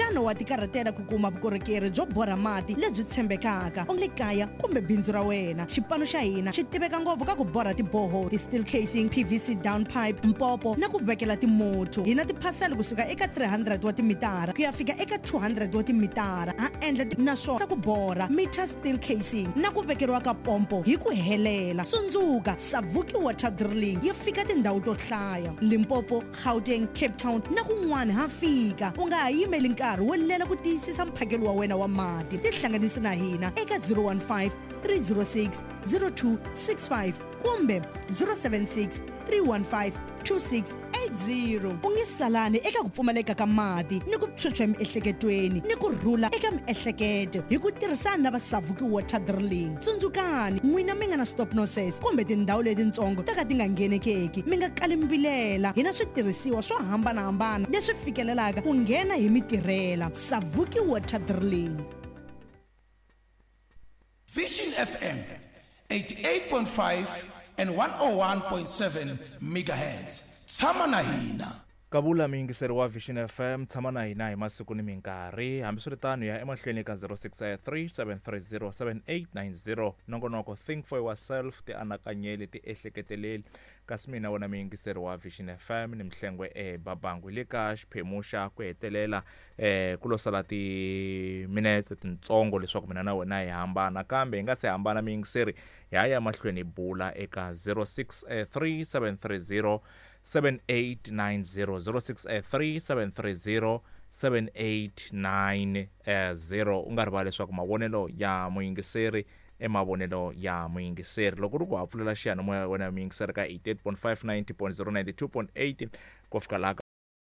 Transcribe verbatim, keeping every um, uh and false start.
Xana wa tikarhatela ku kuma vukorhokeri byo borha mati lebyi tshembekaka u le kaya kumbe bindzu ra wena? Xipano xa hina xi tiveka ngopfu ka ku borha tiboho, ti-steel casing, P V C down pipe, mpopo na ku vekela timotho. Hi na tiphasela kusuka eka three hundred wa timitara ku ya fika eka two hundred wa timitara. Ha endla naswona ku borha meter steel casing na ku vekeriwa ka pompo hi ku helela. Tsundzuka, Savuki Water Drilling yi fika tindhawu to hlaya: Limpopo, Gauteng, Cape Town na kun'wana ha fika. U nga ha yimeli nkarhi wo lela ku tiyisisa mphakelo wa wena wa mati. Tihlanganisi na hina eka zero one five three zero six zero two six five kumbe zero seven six three one five two six eight zero. U nge salani eka ku pfumaleka ka mati ni ku phyuphya emiehleketweni ni ku rhula eka miehleketo hi ku tirhisana na va Savuki Water Drilling. Tsundzukani, n'wina mi nga na stop nonsense kumbe tindhawu letitsongo to ka ti nga nghenekeki, mi nga kali mbilela. Hi na switirhisiwa swo hambanahambana leswi fikelelaka ku nghena hi mitirhela. Savuki Water Drilling. Vision F M eighty-eight point five and one oh one point seven megahertz. Tshama na hina. Kavula muyingiseri wa Vision F M, tshama na hina hi masiku ni minkarhi. Hambiswiritano, ya emahlweni ka zero six three seven three zero seven eight nine zero. Nongonoko Think for Yourself, ti anakanyeli, ti ehleketeleli. Kasi mina wena muyingiseri wa Vision F M ni Mhlengwe ebabangu, hi le ka xiphemu xa ku hetelela. eh ku lo sala timinetse tintsongo leswaku mina na wena hi hambana, kambe hi nga se hambana, muyingiseri, hi ya ya mahlweni hi bula eka zero six three seven three zero seven eight nine zero, zero six three seven three zero seven eight nine zero. U nga rivali leswaku mavonelo ya muyingiseri i mavonelo ya muyingiseri. Loko ri ku ha pfulela xiyanimoya wena muyingiseri ka eighty-eight point five, ninety point zero, ninety-two point eight ku fika laha.